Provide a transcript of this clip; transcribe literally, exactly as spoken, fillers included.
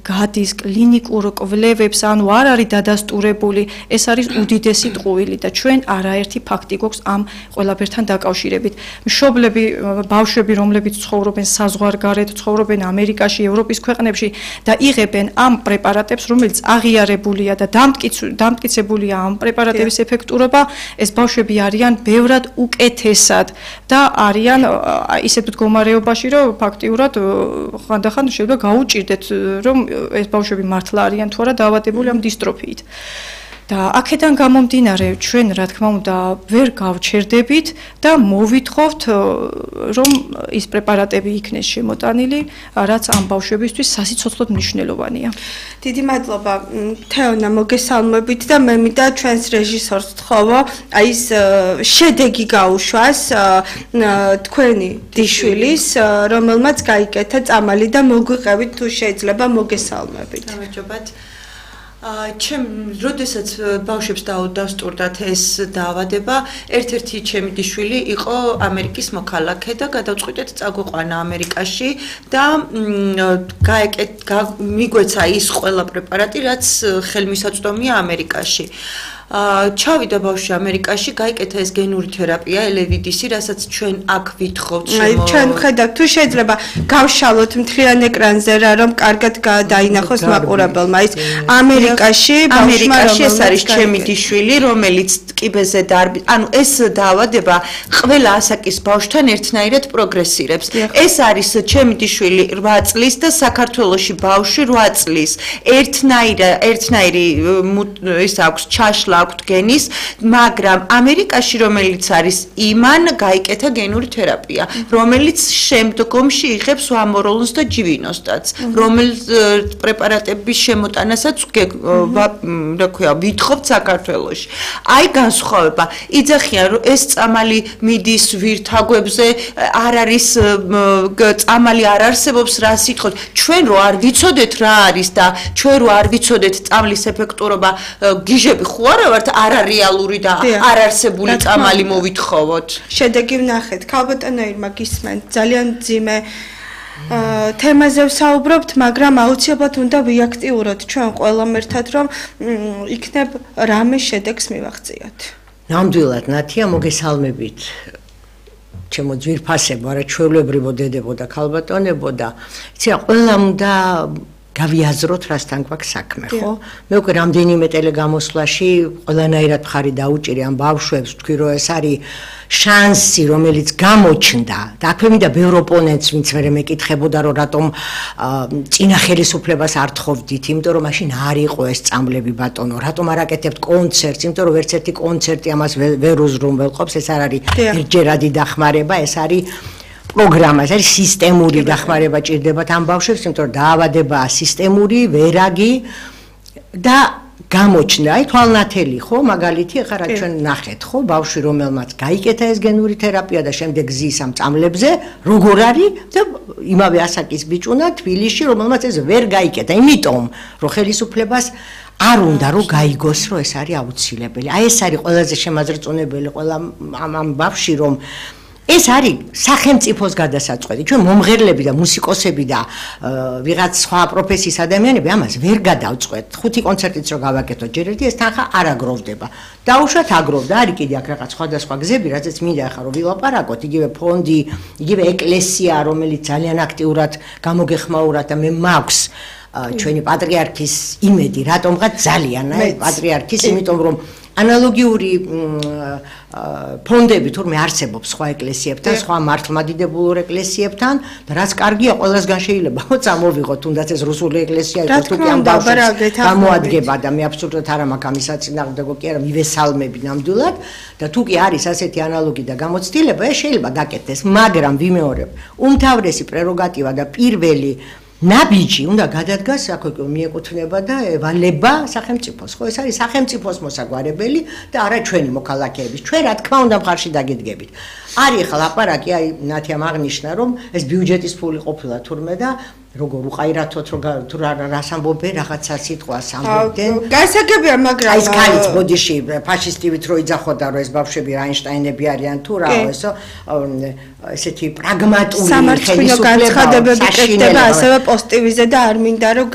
გადის კლინიკურ კვლევებს, ანუ არ არის დადასტურებული, ეს არის უდიდესი ტყუილი და ჩვენ არაერთი ფაქტი გვაქვს ამ ყველაფერთან დაკავშირებით. მშობლები, ბავშვები, რომლებიც ცხოვრობენ საზღვარგარეთ, ცხოვრობენ ამერიკაში, ევროპის ქვეყნებში და იღებენ ამ პრეპარატებს, რომელიც აღიარებულია და დამტკიცებულია ამ პრეპარატების ეფექტურობა, ეს ბავშვები არიან ბევრად უკეთესად და არიან ისეთ მდგომარეობაში, რომ ფაქტიურად ხანდახან შეიძლება გაუჭირდეთ რომ ეს ბავშვები მართლა არიან თუ არა დაავადებული ამ დისტროფიით. და აქედან გამომდინარე ჩვენ რა თქმა უნდა ვერ გავჩერდებით და მოვითხოვთ რომ ის პრეპარატები იქნეს შემოტანილი, რაც ამ ბავშვებისთვის სასიცოცხლოდ მნიშვნელოვანია. დიდი მადლობა თეონა მოგესალმებით და მე მინდა ჩვენს რეჟისორს ვთხოვო აი ეს შედეგი გაუშვას თქვენი დიშვილის, რომელმაც გაიკეთა წამალი და მოგვიყევით თუ შეიძლება მოგესალმებით. გამარჯობათ. ჩემ როდესაც ბავშვებს დაუდასტურდათ ეს დაავადება, ერთ-ერთი ჩემი დიშვილი იყო ამერიკის მოქალაქე და გადავწყვიტეთ წაგვიყვანა ამერიკაში და მიგვეცა ის ყველა პრეპარატი, რაც ხელმისაწვდომია ამერიკაში. ჩავიდა ბავშვი ამერიკაში, გაიკეთა ეს გენური თერაპია, ელევიდისი, რასაც ჩვენ აქ ვითხოვთ შემო. ჩვენ ვხედავთ, თუ შეიძლება გავშალოთ მთლიან ეკრანზე რა, რომ კარგად დაინახოს მაყურებელმა. ის ამერიკაში, ამერიკაში ეს არის ჩემი დიშვილი, რომელიც ტკიბეზე დარბი, ანუ ეს დაავადება ყველა ასაკის ბავშვთან ერთნაირად პროგრესირებს. ეს არის ჩემი დიშვილი რვა წლის და საქართველოში ბავშვი რვა წლის. ერთნაირი ერთნაირი ის აქვს ჩაშლა აქვთ გენის, მაგრამ ამერიკაში რომელიც არის იმან გაიკეთა გენური თერაპია, რომელიც შემდგომში იღებს ვამოროლონს და ჯივინოსტაც, რომელიც პრეპარატების შემოტანასაც რა ქვია, ვითხოვთ საქართველოში. აი განსხვავება, იძახიან რომ ეს წამალი მიდის ვირთაგვებზე, არ არის წამალი არ არსებობს, რა სიტყვით, ჩვენ რო არ ვიცოდეთ რა არის და ჩვენ რო არ ვიცოდეთ წამლის ეფექტურობა, გიჟები ხო არა ვართ არარეალური და არ არსებული წამალი მოვითხოვოთ. შედეგი ვნახეთ. ქალბატონო ირმა გისმენთ, ძალიან ძიმე თემაზე ვსაუბრობთ, მაგრამ აუცილებლად უნდა ვიაქტიუროთ ჩვენ ყველამ ერთად, რომ იქნებ რამე შედეგს მივაღწიოთ. ნამდვილად, ნათია, მოგესალმებით. ჩემო ძვირფასებო, არა ჩვეულებრივო დედებო და ქალბატონებო და იცი რა, ყველამ უნდა გავიაზროთ რასთან გვაქვს საქმე, ხო? მე უკვე რამდენიმე ტელეგამოსვლაში ყველანაირად მხარი დაუჭირი ამ ბავშვებს, ვთქვი რომ ეს არის შანსი, რომელიც გამოჩნდა და აქვე მინდა ბევრ ოპონენტს, ვინც მერე მეკითხებოდა, რომ რატომ წინა ხელისუფლებას არ თხოვდით, იმიტომ რომ მაშინ არ იყო ეს წამლები ბატონო, რატომ არ აკეთებთ კონცერტს, იმიტომ რომ ერთ ერთი კონცერტი ამას ვერ უზრუნველყოფს, ეს არ არის ერთჯერადი დახმარება, ეს არის პროგრამა, ეს არის სისტემური დახმარება ჭირდებათ ამ ბავშვებს, იმიტომ რომ დაავადებაა სისტემური, ვერაგი და გამოჩნდა, აი თვალნათელი ხო, მაგალითი, ახლა რა ჩვენ ნახეთ, ხო, ბავშვი რომელმაც გაიკეთა ეს გენური თერაპია და შემდეგ ზის ამ წამლებზე, როგორ არის და იმავე ასაკის ბიჭუნა თბილისში, რომელმაც ეს ვერ გაიკეთა, იმიტომ რომ ხელისუფლებას არ უნდა რომ გაიგოს, რომ ეს არის აუცილებელი. აი ეს არის ყველაზე შემაძრწუნებელი ყველა ამ ამ ბავშვი, რომ ეს არის სახელმწიფოს გადასაწყვეტი. ჩვენ მომღერლები და მუსიკოსები და ვიღაც სხვა პროფესიის ადამიანები ამას ვერ გადავწყვეტ. ხუთი კონცერტიც რო გავაკეთოთ ჯერ ერთი, ეს თანხა არ აგროვდება. დაუშვათ აგროვდა, არის კიდე აქ რაღაც სხვადასხვა გზები, რაზეც მინდა ახლა რომ ვილაპარაკოთ, იგივე ფონდი, იგივე ეკლესია, რომელიც ძალიან აქტიურად გამოგეხმაურა და მე მაქვს ჩვენი პატრიარქის იმედი, რატომღაც ძალიან, აი პატრიარქის, იმიტომ რომ ანალოგიური ფონდები თურმე არსებობს სხვა ეკლესიებთან, სხვა მართლმადიდებულ ეკლესიებთან და რაც კარგია, ყველასგან შეიძლება წამოვიღოთ, თუნდაც ეს რუსული ეკლესია იყო, თუ კი ამ ბავშვებს გამოადგება და მე აბსოლუტურად არ მაქვს ამის საწინააღმდეგო კი არა, მივესალმები ნამდვილად და თუ კი არის ასეთი ანალოგი და გამოცდილება, ეს შეიძლება გაკეთდეს, მაგრამ ვიმეორებ, უმთავრესი პრეროგატივა და პირველი ნაბიჯი უნდა გადადგას, აქ მიეკუთვნება და ევალება სახელმწიფოს, ხო, ეს არის სახელმწიფოს მოსაგვარებელი და არა ჩვენი მოქალაქეების. ჩვენ რა თქმა უნდა მხარში დაგედგებით. არის ახლა ლაპარაკი, აი ნათიამ აღნიშნა, რომ ეს ბიუჯეტის ფული ყოფილა თურმე და როგორ უყაირათოთ, თუ რას ამბობენ, რაღაცა სიტყვას ამბობდნენ. გასაგებია, მაგრამ აი ეს ქალიც ბოდიში ფაშისტივით რო იძახოდა, რომ ეს ბავშვები რაინშტაინები არიან თუ რა, ესო ესეთი პრაგმატული ხელისუფლება, სამართლო განცხადებები კეთდება ასევე პოზიტივიზე და არ მინდა რომ